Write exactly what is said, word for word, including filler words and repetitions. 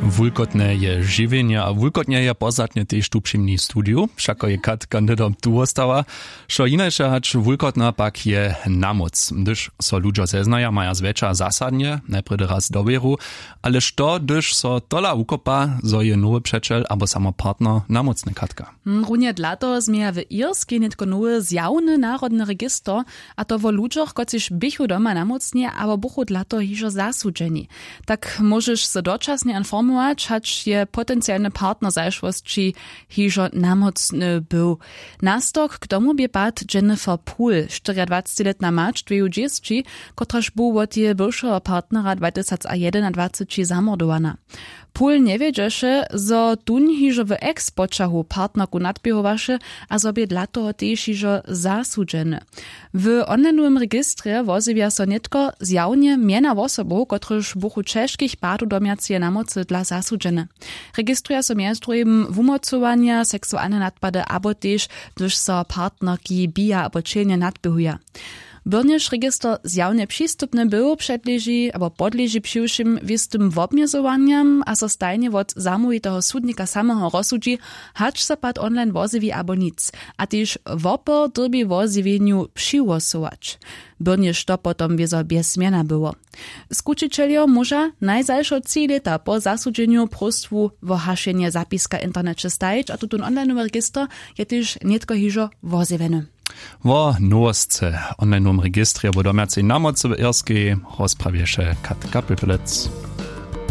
Wulkotne je žiwjenje a wulkotnje je pozdatnje tež tu při mni w studiju, wšako je katka hnydom tu wostała. Što hinaše hač wulkotna pak je namóc, hdyž so ludźo zeznaja, maja zwjetša zasadnje najprjedy raz dowěru. Ale što hdyž so tola wukopa, zo je nowy přećel abo samo partner namócny, katka? Hm, runje dla toho změja w irskej nětko nowy zjawny narodny register, a to wo ludźoch, kotřiž běchu doma namócni abo buchu dla toho hižo zasudźeni. Tak móžeš so dočasnje informować, hač je potencialny partner w zašłosći hižo namócny był. Nastork k tomu bě pad Jennifer Poole, štyriadwacećilětna mać dwejudźěsći, kotraž bu wot jeje bywšeho partnera dwatysacjedenadwaceći zamordowana. Poole njewědźeše, zo tón hižo w ex-poćahu partnerku nadběhowaše, a zo bě dla toho tež hižo zasudźeny. W onlinowym registrje wozjewja so nětko zjawnje mjena wosobow, kotryž buchu ćežkich padow domjaceje namocy dla zasudźene. Registruja so mjez druhim wumocowanja, seksualne nadpady abo tež, hdyž so partnerki bija abo ćelnje nadběhuja. Byrnjež register zjawnje přistupny był, předleži abo podleži přiwšěm wěstym wobmjezowanjam a so stajnje wot zamołwiteho sudnika sameho rozsudźi, hač so pad online wozjewi abo nic, a tež wopor dyrbi wozjewjenju přihłosować. Byrnjež to potom wězo bjez mjena było. Skućićeljo móža najzašo tři lěta po zasudźenju próstwu wo hašenje zapiska w interneće stajić, a tutón onlineowy register je tež nětko hižo wozjewjeny. Wo nowosće w onlinowym registrje wo domjacej namocy w Irskej rozprawješe Katka Pipelec.